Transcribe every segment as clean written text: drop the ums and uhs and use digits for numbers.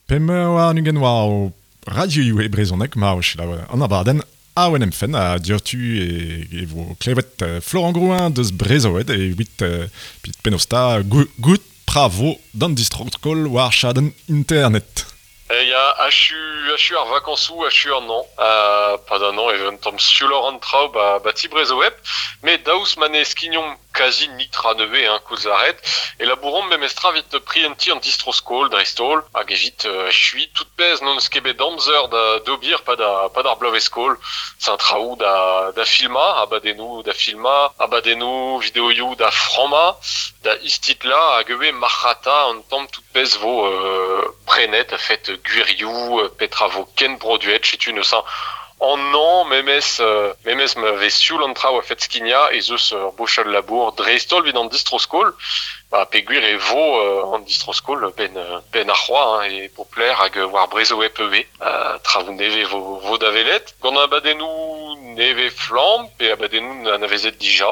25 war o radioioù e brezhoneg ma o selaou an abadenn Awen em fenn ha diouzhtu e vo klevet Florent Grouin deus Brezhoweb evit penaos 'ta goût pra vo d'an distro-skol war chadenn internet. Ya, achu, achu ar vakañsoù, achu an hañv. Pad an hañv e vez un tamm siouloc'h an traoù ba, ba ti Brezhoweb. Met daoust ma ne skignomp kazi nitra nevez, hein, koulz lâret, e labouromp memestra evit prientiñ an distro-skol dreist-holl hag evit achuiñ tout pezh n'hon eus ket bet amzer da d'ober pad ar, pad ar bloavezh-skol. C'est un traoù da, da filmañ, abadennoù da filmañ, abadennoù, videoioù da frammañ, da istitlañ hag ivez marc'hata an tamm tout pezh vo prenet a-fet gwirioù, petra vo ken produet, setu neuze an hañv memes memes ma vez sioul an traoù a-fet skignañ ez eus ur bochad labour dreist-holl evit an distro-skol ba peogwir e vo an distro-skol benn benn ar c'hoaz hein, e Popler hag war Brezhoweb ivez. Traoù nevez vo, vo da welet gant abadennoù nevez flamm pe abadennoù anavezet dija.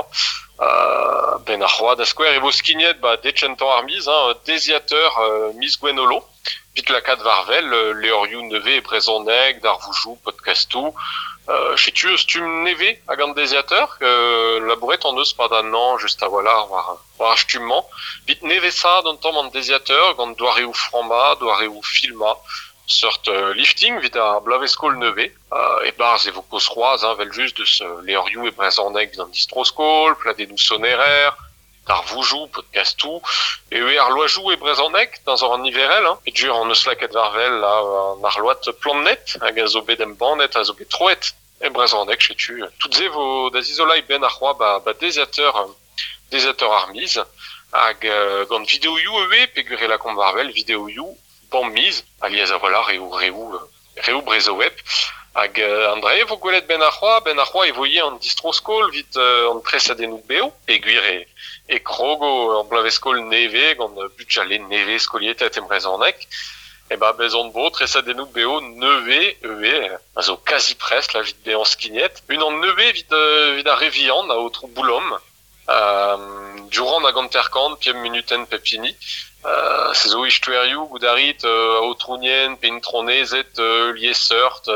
Benn ar c'hoaz da skouer e vo skignet ba dekentañ ar miz hein, deiziateur miz Gwenholo evit lakaat war-wel levrioù nevez e brezhoneg, darvoudoù, podcastoù. Setu ur stumm nevez hag an deiziateur labouret hon eus 'pad an hañv just a-walc'h war war ar stumm-mañ. Evit nevesaat un tamm an deiziateur gant doareoù frammañ, doareoù filmañ, seurt lifting evit ar bloavezh-skol nevez. E-barzh e vo kaoz c'hoazh hein, evel-just deus levrioù e brezhoneg evit an distro-skol, pladennoù sonerer, darvoudoù, podcastoù. Eo ar loajoù e brezhoneg, teñzor an niverel, hein. Peogwir hon eus lakaet war-wel an arload Plant-Net hag a zo bet embannet, a zo bet troet e brezhoneg, setu tout se vo da zizoleiñ benn ar c'hoaz ba, ba deiziateur, deiziateur ar miz. Hag gant videoioù ivez, peogwir e lakaomp war-wel videoioù bam miz, alies a-walc'h eo reoù reoù Brezhoweb. Hag an dra-se vo gwelet benn ar c'hoaz, benn ar c'hoaz e vo ivez an distro-skol evit an tresadennoù bev, peogwir e, e krogo ur bloavezh-skol nevez gant bugale nevez skolietaet e brezhoneg. E ba bez on vo tresadennoù bev nevez ivez, a zo kazi prest là evit bezañ skignet. Unan nevez evit, evit ar re vihan, aotrou Boulom. Durant hag hanter-kant, pemp munutenn pep hini. Se zo istoerioù goût a rit aotrounien pe intronezed liesseurt,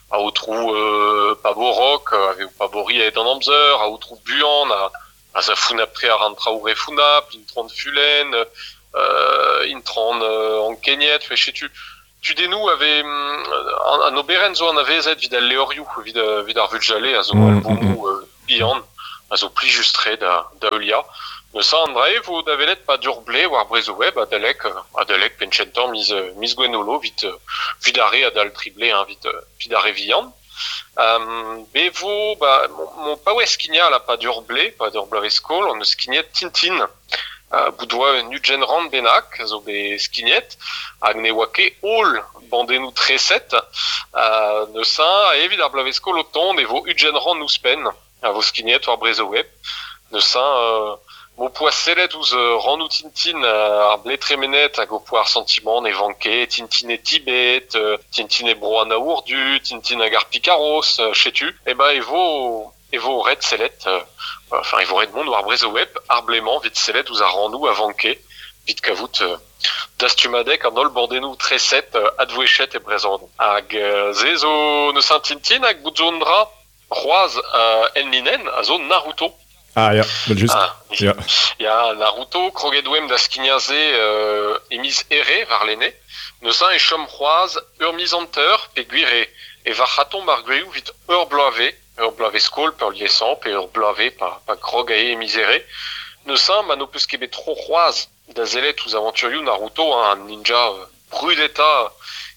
aotrou Paborok, a vez o paboriñ a-hed an amzer, aotrou Buan a a za founnapl-tre àr an traoù re founnapl, intron Fulenn, intron Ankeniet, setu tudennoù a vez an oberenn zo anavezet evit al levrioù, evit evit ar vugale a zo albomoù bihan a zo plijus-tre da da heuliañ. Neuze an dra-se vo da welet 'pad ur blez war Brezhoweb adalek adalek penn-kentañ miz miz Gwenholo evit evit ar re adal tri blez hein, evit evit ar re vihan. Be vo ba mon paouez skignañ là 'pad ur blez, 'pad ur bloavezh-skol on eus skignet Tintin. Bout oa un ugent rann bennak a zo bet skignet hag ne oa ket holl bandennoù treset. Neuze evit ar bloavezh-skol o tont e vo 20 rann ouzhpenn a vo skignet war Brezhoweb. Neuze m'ho poa sellet ouzh rannoù Tintin ar blez tremenet hag ho poa ar santimant ne vanke Tintin e Tibet, Tintin e Bro an Aour Du, Tintin hag ar Pikaros, setu. Eh ben e vo e vo ret sellet, enfin e vo ret mont war Brezhoweb ar blez-mañ evit sellet ouzh ar rannoù a vanke evit kavout dastumadeg an holl bordennoù treset advouezhet e brezhoneg. Hag se zo neuze Tintin hag bout zo un dra c'hoazh enlinenn a zo Naruto. Ah ya, just. Ah, ya. Ya, Naruto, kroget oemp da skignañ se e miz Here warlene. Neuze e chom c'hoazh ur miz hanter peogwir e, e varc'hatomp ar gwirioù evit ur bloavezh. Ur bloavezh-skol peurliesañ pe ur bloavezh pa, pa grog aze e miz Here. Neuze ma n'ho peus ket bet tro c'hoazh da sellet ouzh avanturioù Naruto, hein, an ninja brudetañ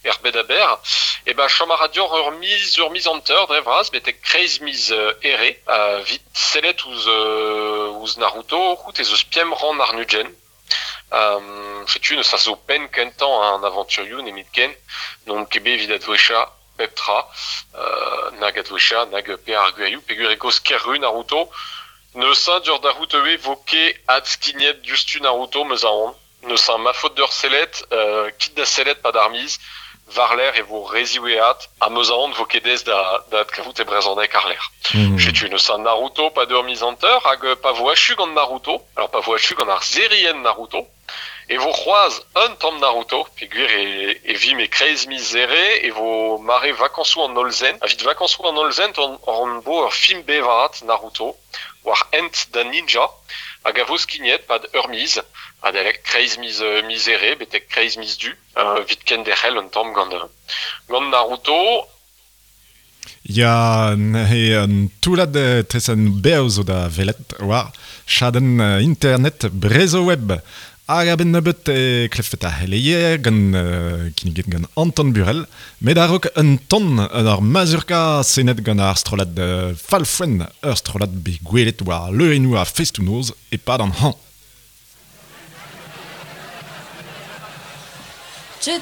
er bed a-berr, e ba chom a ra deoc'h ur miz, ur miz hanter dre vras betek kreiz miz Here evit sellet ouzh, ouzh Naruto, c'hoût ez eus pemp rann àr-ugent. Setu neuze a zo penn kentañ an avanturioù nemetken. N'on ket bet evit advouezhañ pep tra, nag advouezhañ nag pe ar gwirioù peogwir e kaoz ker-ru Naruto. Neuze diouzh da c'hoût ivez 'vo ket adskignet diouzhtu Naruto 'm eus aon. Neuze ma faot deoc'h sellet, kit da sellet 'pad ar miz. War-lerc'h e vo re ziwezhat ha 'm eus aon 'vo ket aes da da adkavout e brezhoneg àr-lerc'h. Setu neuze Naruto 'pad ur miz hanter hag pa vo achu gant Naruto, alors pa vo achu gant ar serienn Naruto, E vo c'hoazh un tamm Naruto, peogwir e, e vimp e kreiz miz Here, e vo mare vakañsoù an hollzen. Evit vakañsoù an hollzen hon bo ur film bevaat Naruto, war hent da ninja, hag a vo skignet pad ur miz, adalek kreiz miz, miz Here betek kreiz miz Du, evit kenderc'hel un tamm gant, gant Naruto. Ya, neuze un toullad tresenn bev zo da welet war chadenn internet Brezhoweb. Hag a-benn nebeut e klevfet ar c'heleier gant kinniget gant Anton Burel, met a-raok un ton ur mazurka senet gant ar strollad Falfouen, ur strollad bet gwelet war leurennoù ar festoù-noz e-pad an hañv.